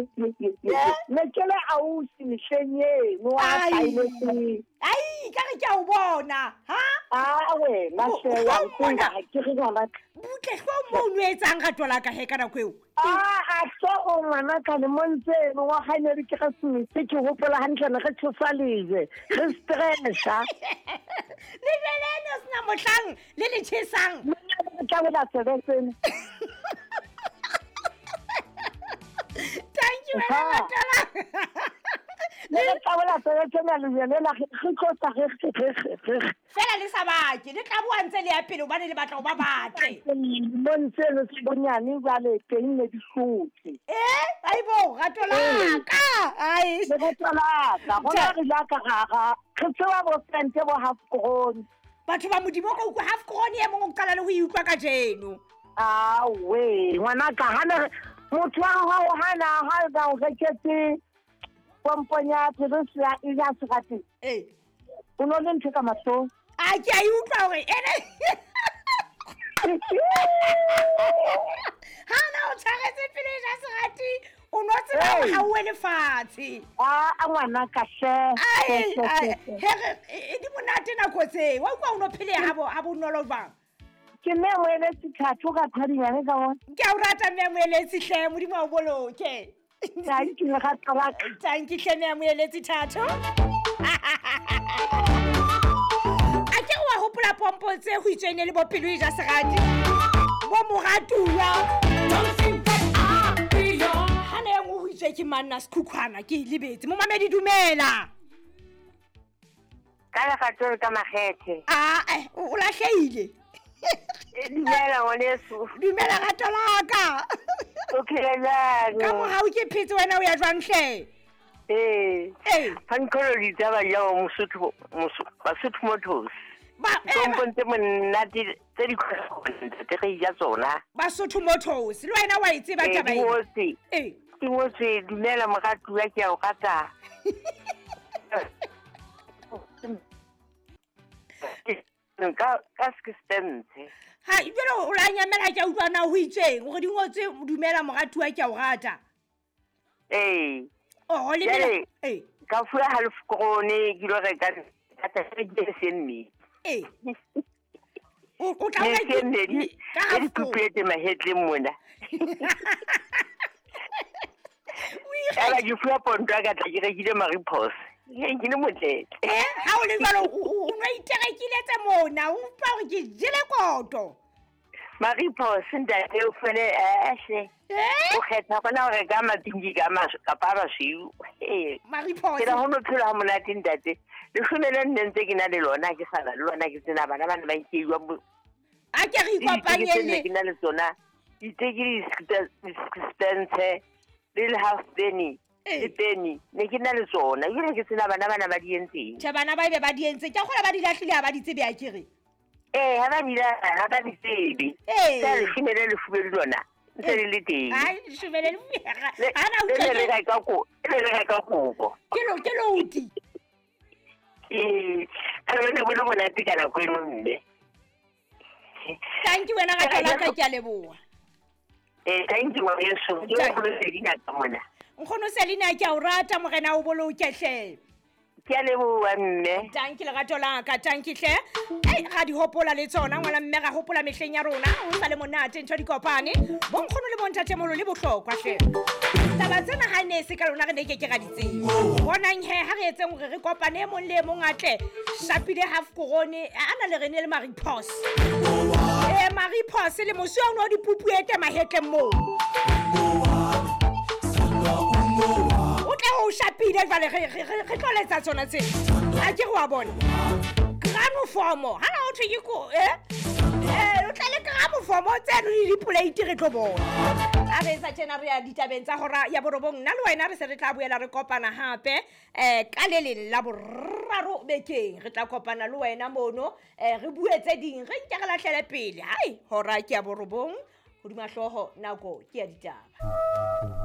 ye ye ye ye ne ke le ausi mehleng eno a Ai. thailetseng. Ai, ka re ke a o bona ha. A wena O- hle wa o ntseba, mona. ke re ngwana ka. Butle hlo mo o no etsang rato la ka he ka nako eo. A tlo o ngwana ka le montse eno wa gane re ke ga se ke gopola hantle ne re tshosa lejwe re stressa. Le jele ne o sena mohlang le le tjhesang. Monna re tla bola sebetseng. Thank you wena Ha. rato la. Ne re tla bola sebetseng ya lejwe lela re tlotsa re re re Fela le sa bake le tla boa ntse le ya pele hobane le batla ho ba batle. Montse eno se bonyane jwale teng ne di hlotse. Eh, aibo rato la ka. Ai. Le rato la ka gona re ja ka ga re tseba bo sente bo half grown. Batho ba modimo ka utlwa half grown e mong o qala le ho e utlwa kajeno. Awe ngwana ka hana motho wa hao hana ha ba o reketse pomponya pelo ya e ja serati. Eh. O no le ntho ka mahlong. A ke a e utlwa hore ene ha na o tshwaretse pelo e ja serati o no tseba hore Hey. ha o wele fatshe. A ngwana ka hle. Ai, ai, he re e di monate nako tse. Wa utlwa o no phele ha bo ha bonolo jwang. Ke mme moeletsi thato ka thadinyane ka bona. Ke a o rata mme moeletsi hle, modimo a o boloke. Thank you lerato la ka. Thank you hle mme moeletsi thato. A ke wa hopola pompo tse ho itsweng le bo pelo e ja serati. Bo moratuwa. Ha ne engwe ho itswe ke manna sekhukhwana ke e lebetse. Momamedi dumela. Ka lerato le ka makgethe. Ah, eh, o lahlehile. Dumela ngwaneso. Dumela rato la ka. O phela jwang? Ka mohau ke phetse wena o ya jwang hle? Ee. Ee. Phankgolo ditaba ja Mosotho Basotho Motors. Ba eh, Kompong tse monate tse di ntate re ja tsona. Basotho Motors le wena wa e tseba Ee, taba di ena. ngotswe. Ee. Di ngotswe dumela moratuwa ke a o rata. Ka sixpence. Ha jwale o la nyamela ke a utlwa na ho itsweng hore di ngotswe dumela moratuwa ke a o rata. Ee. Oh, le Jwale, ee. Ka fuwa half krone ke lo reka data ke se mme. Ee. O tla Ne o se mme ka di half krone. pupuetse mahetleng mona. O Ela ikgethe- ke fuwa ponto ya ka tla ke rekile Maripos. Ke le motlete. Eh, ha o le jwalo o no iterekile tse mona, o utlwa hore ke jele koto. Maripos ntate o fele hle. Eh? O kgetha gona ho reka mapinki ka kapa a masweu. Ee. Maripos. Ke la ho no phela ha monate ntate. Leshome le nne ntse ke na le lona ke sa na le lona ke tsena bana ba ne ba nkeiwa mo A ke re le diteke ikopanye tse nne le ke na le tsona. Diteke le di-sixpence le le half penny Ee. le penny ne ke na le tsona ebile ke tsena bana bana ba di entseng. Tjhe, bana ba ebe ba di entse. Ke a kgolwa ba di lahlile ha ba di tsebe akere. Ee, ha ba di ha ba di tsebe. Ee. Ka leshome le lefubedu lona ntse le le teng. Ai, leshome le lefubedu. Le Ha na le utlwa ne le ke- reka le ne le reka kobo. ke lo ke loti. Ee, ka le ne bo le monate ka nako eno mme. Thank you wena rato la ka ke a leboha. Ee, thank you ngwaneso. Ke Thank- nkgono Selina ka mona. Nkgono Selina ke a o rata morena o boloke hle. Ke a leboha mme. Thank you lerato la ka, thank you hle. Ei, ra di hopola le tsona ngwana mme ra hopola mehleng ya rona ho sa le monate ntho di kopane. Bo nkgono le bontatemoholo le bohlokwa hle. Taba tsena ha ne se ka lona re ne ke ke ra di tseba. Bonang he ha re etseng hore re kopane e mong le e mong a tle shapile half korone a na le re ne le Maripos. Eh Maripos le mosi o no di pupuete mahetleng moo. O tla o shapile jwale re tlo letsa tsona tse. A ke re wa bona. Granofomo, ha na ho thwe ke ko eh? Eh, o tla le granofomo tseno le dipoleiti re tlo bona. A re etsa tjena re ya ditabeng tsa hora ya borobong. Nna le wena re se re tla boela re kopana hape ka le leng la boraro bekeng. Re tla kopana le wena mono re bue tse ding, re nke re lahlele pele. Hai, hora ke ya borobong, hodima hlooho nako ke ya ditaba.